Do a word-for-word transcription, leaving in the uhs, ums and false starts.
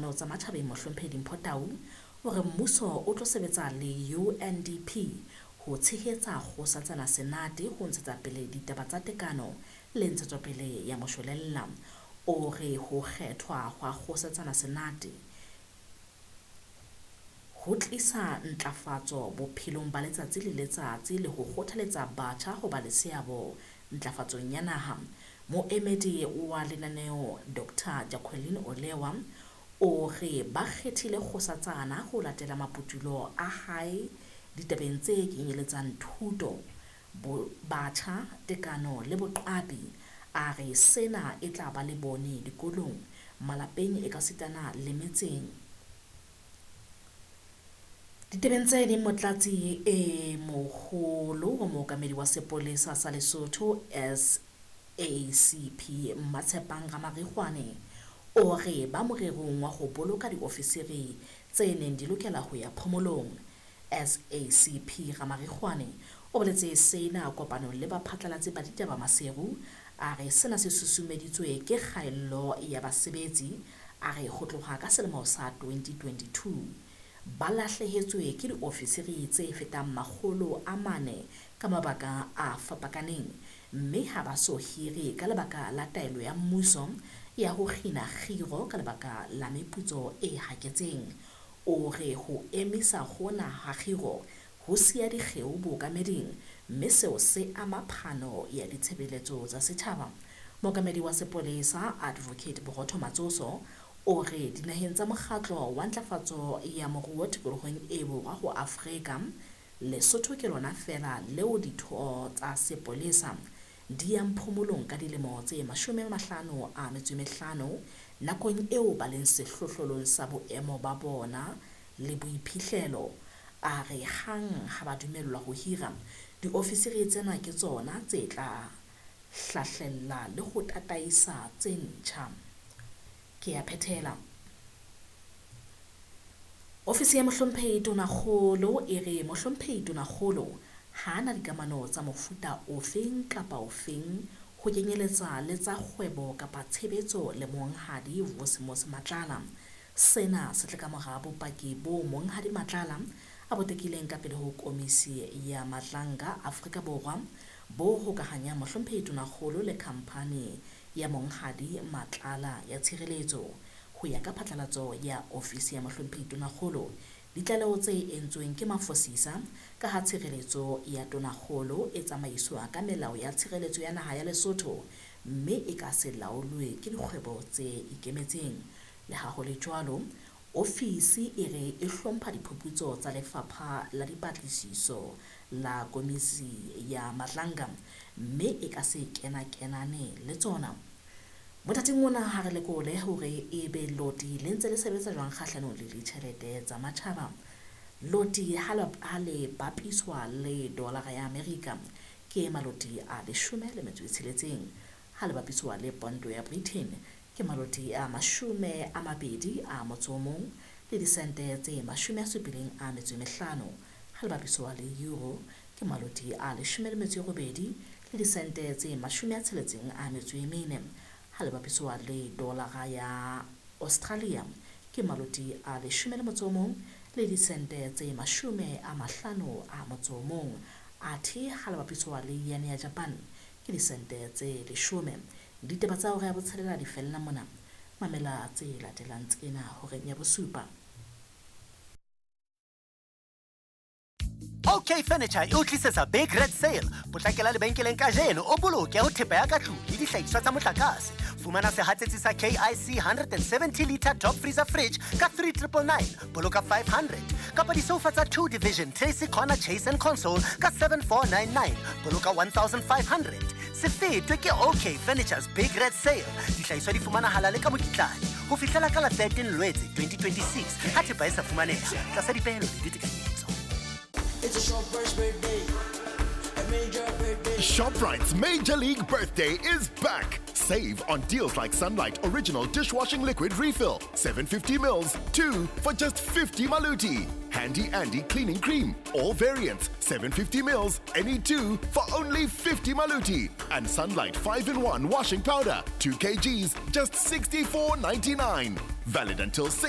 Dikamano tsa Matjhabeng Mohlomphehi Dimpho Tau o re mmuso o tlo sebetsa le U N D P ho tshehetsa Kgosatsana Senate ho ntshetsa pele ditaba tsa tekano le ntshetsopele ya moshwelella. O re ho kgethwa hwa Kgosatsana Senate ho tlisa ntlafatso bophelong ba letsatsi le letsatsi le ho kgothaletsa batjha ho ba le seabo ntlafatsong ya naha. Moemedi wa lenaneo Doctor Jacqueline Olewa o re ba kgethile Kgosatsana ho latela maputulo a hae ditabeng tse kenyeletsang thuto, batjha, tekano le boqapi. A re sena e tla ba le bone dikolong, malapeng ekasitana le metseng. Ditabeng tse ding, motlatsi e moholo wa mookamedi wa sepolesa sa Lesotho S A C P Mmatshepang Ramarikgwane o re ba morerong wa ho boloka diofisiri tse neng di lokela ho ya phomolong. S A C P Ramarikgwane o boletse sena kopanong le baphatlalatsi ba ditaba Maseru. A re sena se susumeditswe ke kgaello ya basebetsi. A re ho tloha ka selemo sa twenty twenty-two ba lahlehetswe ke diofisiri tse fetang makgolo a mane ka mabaka a fapakaneng, mme ha ba so hire ka lebaka la taelo ya mmuso ya ho kgina kgiro ka lebaka la meputso e haketseng. O re ho emisa hona ha kgiro ho siya dikgeo bookameding, mme seo se ama phano ya ditshebeletso tsa setjhaba. Mookamedi wa sepolesa Advocate Borotho Matsoso o re dinaheng tsa mokgatlo wa ntlafatso ya moruo tikolohong e borwa ho Afrika, Lesotho ke lona feela leo ditho tsa sepolesa di yang phomolong ka dilemo tse mashome a mahlano a metso e mehlano nakong eo ba leng sehlohlolong sa boemo ba bona le boiphihlelo. A re hang ha ba dumellwa ho hira, diofisiri tsena ke tsona tse tla hlahlella le ho tataisa tse ntjha. Ke ya phethela. Ofisi ya Mohlomphehi Tonakgolo e re Mohlomphehi Tonakgolo ha ana dikamano tsa mofuta ofeng kapa ofeng ho kenyeletsa le tsa kgwebo kapa tshebetso le Monghadi Vusimuzi Matlala. Sena se tle ka mora bopaki bo Monghadi Matlala a bo tekileng ka pele ho Komisi ya Madlanga Afrika Borwa bo hokahanyang Mohlomphehi Tonakgolo le khamphani ya Monghadi Matlala ya tshireletso. Ho ya ka phatlalatso ya ofisi ya Mohlomphehi Tonakgolo, ditlaleho tse entsweng ke mafosisa ka ha tshireletso ya Tonakgolo e tsamaiswa ka melao ya tshireletso ya naha ya Lesotho mme e ka se laolwe ke dikgwebo tse ikemetseng. Le ha ho le jwalo, ofisi e re e hlompha diphuputso tsa Lefapha la Dipatlisiso la Komisi ya Madlanga mme e ka se kena-kenane le tsona. Mothating ona ha re lekole hore ebe loti le ntse le sebetsa jwang kgahlanong le ditjhelete tsa matjhaba. Loti ha le bapiswa le dolara ya Amerika ke maloti a leshome le metso e tsheletseng, ha le bapiswa le pondo ya Britain ke maloti a mashome a mabedi a motso o mong le disente tse mashome a supileng a metso e mehlano, ha le bapiswa le euro ke maloti a leshome le metso e robedi le disente tse mashome a tsheletseng a metso e mene, ha le bapiswa le dolara ya Australia ke maloti a leshome le motso o mong le disente tse mashome a mahlano a motso o mong, athe ha le bapiswa le yen ya Japan ke disente tse leshome. Ditaba tsa hora ya botshelela di fella mona. Mamela tse latelang tsena horeng ya bosupa. OK Furniture e o tlisetsa Big Red Sale. Potlakela lebenkeleng kajeno o boloke ho thepa ya ka tlung le dihlahiswa tsa motlakase. Fumana sehatsetsi sa K I C one hundred seventy liter top freezer fridge ka three triple nine, boloka five hundred. Kapa disofa tsa two division Tracy Corner Chase and Console ka seven four nine nine, boloka one thousand five hundred. Se fetwe ke OK Furniture's Big Red Sale. Dihlahiswa di fumanahala le ka mokitlane ho fihlela ka la thirteen Lwetse twenty twenty-six ha thepa e sa fumaneha tlasa dipehelo le ditekanyetso. It's a Shoprite's birthday, a major birthday. Shoprite's Major League Birthday is back. Save on deals like Sunlight Original Dishwashing Liquid Refill, seven fifty mils, two for just fifty maluti. Handy Andy Cleaning Cream, all variants, seven fifty mils, any two for only fifty maluti. And Sunlight five in one Washing Powder, two kilograms, just sixty-four ninety-nine. Valid until six